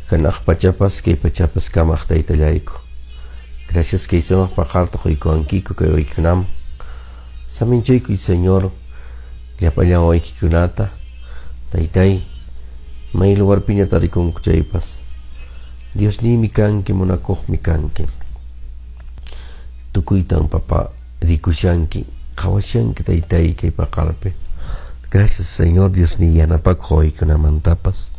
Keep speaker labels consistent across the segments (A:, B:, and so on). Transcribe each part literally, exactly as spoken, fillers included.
A: Hanaq pachapas kay pachapas kamaq taytallayku. Gracias kay sumaq paqarta quykuwankiku kay waykunaman. Saminchaykuy Señor llapallan waykikunata. Taytay, may lugarpiña tarikunku chaypas. Diosniymi kanki, munakuqmi kanki. Tukuytan papa rikushanki, qhawashanki taytay kay paqarpi. Gracias Señor Diosniy yanapakuq waykunamantapas.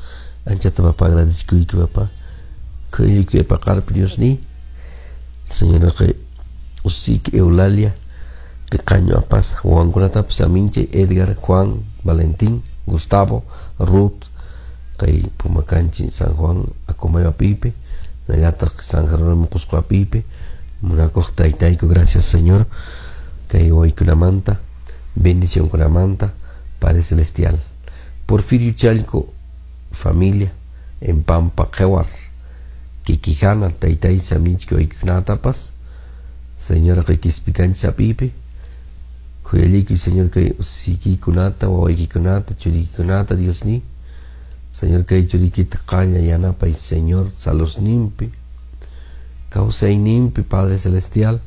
A: Anchata papa agradecikuyki papa. Kuyayki paqarpi Diosniy. Señor kay usiki Eulalia qañu apas wawankunatapas aminchay Edgar, Juan, Valentín, Gustavo, Ruth, kay Pumakanchi San Juan Acomayo apipi, nallataq San Jerónimo Cusco apipi, munakuq taytayku gracias Señor kay waykunamanta bendicionkunamanta Padre Celestial. Porfirio Chalco, familia en Pampa Qewar, Kikijana, taytay saminchki waykunatapas, Señor kay Quispicanchi apipi, khuyallikuy Señor kay usikikunata, wawaykikunata, churikikunata, Diosniy. Señor kay churikita qalla yanapay Señor saludninpi, kawsayninpi Padre Celestial,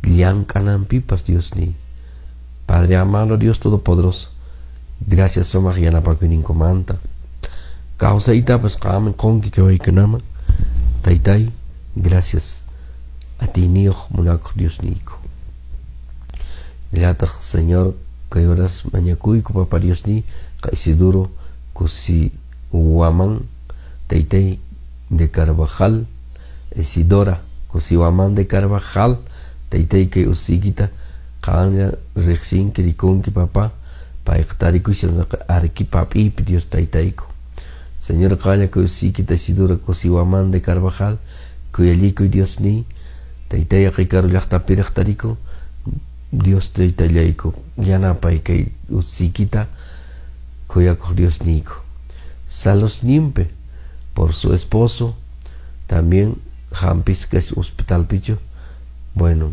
A: llank'ananpipas Diosniy. Padre amado Dios Todopoderoso, gracias sumaq yanapakuyninkumanta. Kawsaytapas qammi qunki kay waykunaman. Taytay, gracias atiyniyuq munakuq Diosniyku. Llataq Señor kay horas mañakuyku Papa Diosniy kay Isidoro Cusihuamán Taytay de Carvajal, Isidora Cusihuamán de Carvajal, Taytay kay usikita qanlla riqsinki rikunki papá payqa tarikushan Arequipa apipi Dios taytayku. Señor qanlla kay usikita Isidora Cusihuamán de Carvajal, kuyallikuy Diosniy, taytay karu llaqtapiraq tarikun, Dios taytallayku yanapay kay usikita kuyakuq Diosniyku. Saludninpi por su esposo, también hampisqa hospitalpichu, bueno,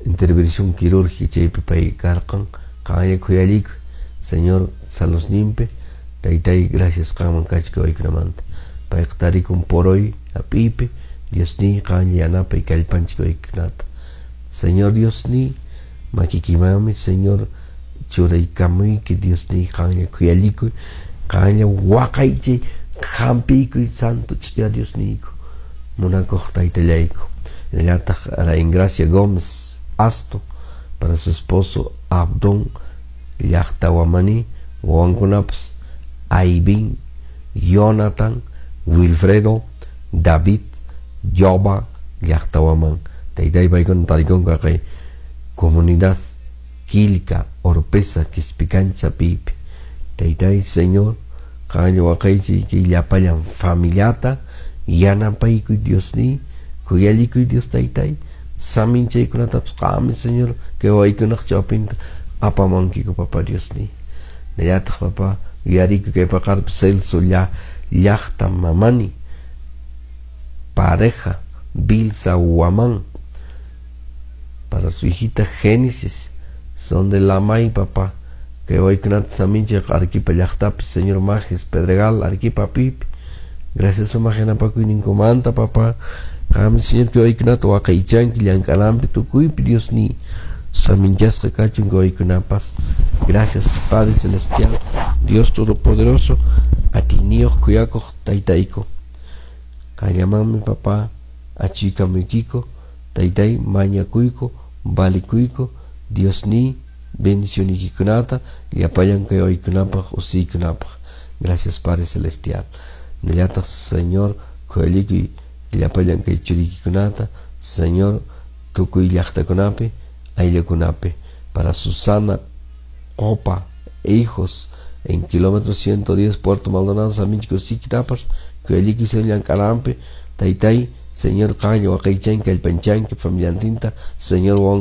A: intervención quirúrgica chaypi pay karqan, qanlla khuyallikuy Señor saludninpi, taytay gracias qanman kachka waykunamanta. Payqa tarikun por hoy apipi, Diosniy qanlla yanapay kallpanchik waykunata. Señor Diosniy, makikimanmi Señor churaykamuyki Diosniy qanlla khuyallikuy, qanlla waqaychay hampiykuy santo ch'uya Diosniyku, munakuq taytallayku. Llataq a Ingracia Gómez Asto para su esposo Abdón llaqtawamani wawankunapas Aivin, Jonathan, Wilfredo, David, Joba llaqtawaman. Taytay paykuna tarikunku kay comunidad Quilca, Oropesa, Quispicancha pipi. Taytay Señor, qanlla waqaychay kay llapallan familiata yanapaykuy Diosniy, khuyallikuy Dios taytay, saminchaykunatapas qammi Señor kay waykunaq chawpinta apamunkiku Papa Diosniy. Nallataq Papa yuyarikuy kay paqarpi Celso llaqta mamani, pareja Bilsa Huamán, para su hijita Génesis, son de Lamay, papá, que waykunata saminchaq Arequipa llaqtapi, Señor Majes, Pedregal, Arequipa pipi. Gracias sumaq yanapakuyninkumanta, papá. Qammi Señor kay waykunata waqaychanki llank'ananpi tukuypi Diosniy. Saminchasqa kachun kay waykunapas. Gracias Padre Celestial, Dios Todopoderoso, atiyniyuq kuyakuq taytayku. Qallamanmi papá achuykamuykiku, taytay mañakuyku, valikuyku, Diosniy bendicioniykikunata llapallan kay waykunapaq usiykunapaq. Gracias Padre Celestial. Nallataq Señor khuyallikuy llapallan kay churiykikunata, Señor tukuy llaqtakunapi, ayllukunapi. Para Susana Copa e hijos en kilómetro ciento diez Puerto Maldonado, Saminchiko Sikitapas, khuyallikuy Señor llank'ananpi, taytay Señor qanlla waqaychanki kallpanchanki familiantinta, Señor